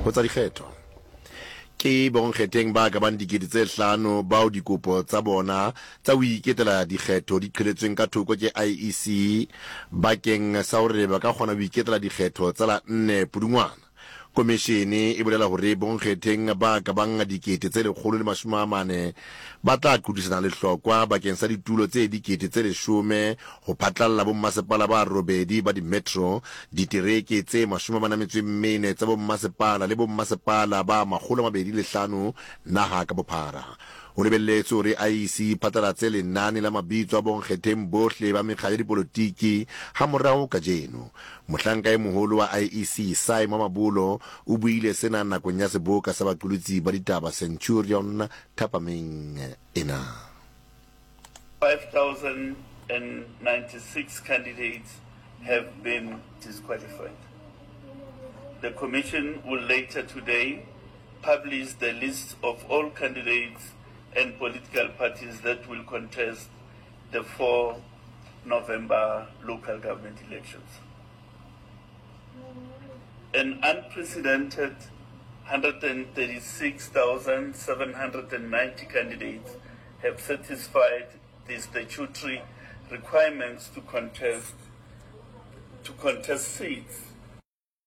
Ho tsa dikgetho, ke bonkgetheng ba ka bang 5000 bao dikopo tsa bona tsa ho iketela dikgetho di qheletsweng ka thoko ke IEC bakeng sa hore ba ka kgona ho iketela dikgetho tsa la nne Pudungwana. Komishene e bolela hore bonkgetheng ba ka bang 140 ba tla qothisana lehlokwa bakeng sa ditulo tse 10,000 ho phatlalla bommasepala ba robedi ba dimetro, ditereke tse 44 tsa bommasepala le bommasepala ba 205 naha ka bophara. Ho lebelletswe hore IEC e phatlalatse lenane la mabitso a bonkgetheng bohle ba mekga ya dipolotiki hamorao kajeno. Mohlanka e moholo wa IEC, Sy Mamabolo, o buile sena nakong ya seboka sa baqolotsi ba ditaba Centurion thapameng ena. 5,096 candidates have been disqualified. The Commission will later today publish the list of all candidates and political parties that will contest the 4 November local government elections. An unprecedented 136,790 candidates have satisfied the statutory requirements to contest to contest seats.